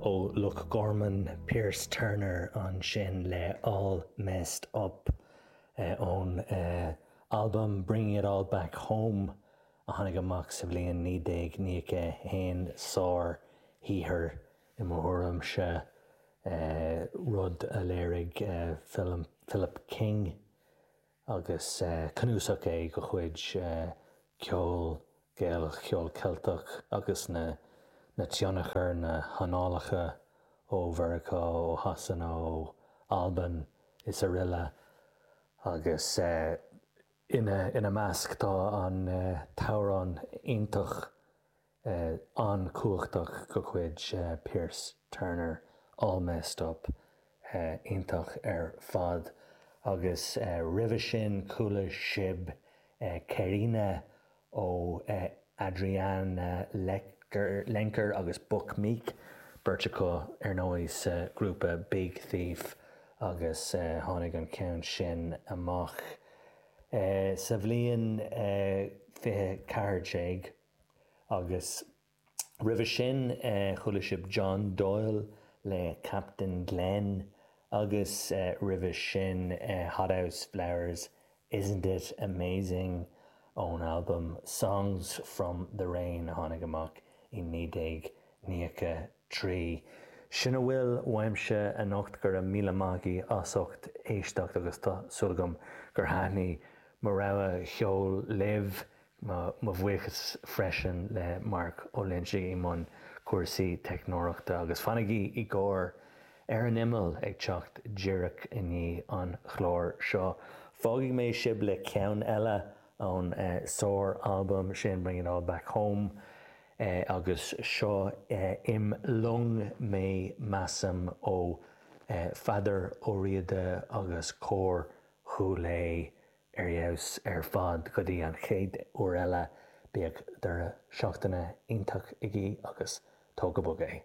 ó Loch Gorman, Pearse Turner ansin le All Messed Up ón albam Bringing It All Back Home a tháinig amach sa bhliain 1991. Sár-shaothar i mo thuairimse, rud a léirigh Philip King. agus cnuasach é de chuid ceol Gaelach, ceol Ceilteach agus na na tionchair, na hanálacha ó Mheiriceá, ó Shasana, ó Albain is aroile agus ina ina measc tá an t-amhrán iontach an-chumhachtach de chuid Pearse Turner, All Messed Up, iontach ar fad. Agus roimhe sin chuala sibh Cairina ó Adriana Lenker agus Buck Meek, beirt acu ar ndóigh sa ghrúpa Big Thief agus tháinig an ceann sin amach sa bhliain 2014. Agus roimhe sin chuala sibh John Doyle le Captain Glen agus roimhe sin Hothouse Flowers, Isn't It Amazing ón albam Songs From The Rain a tháinig amach i 1993. Sin a bhfuil uaimse anocht, go raibh míle maith agaibh as ucht éisteacht agus tá súil agam gur thaitnigh mo rogha cheoil libh. Mo bhuíochas freisin le Mark Ó Loinsigh i mbun cúrsaí teicneoireachta agus fanaigí i gcomhair Ar an Imeall ag teacht díreach i ndiaidh an chláir seo. Fágfaidh mé sibh le ceann eile ón sár-albam sin Bring It All Back Home agus seo Im Long Mé Measaim ó Pheadar Ó Riada agus Cór Chúil Aodha. Ar fheabhas ar fad go dtí an chéad uair eile, bíodh deireadh seachtaine iontach agaibh agus tóg go bog é.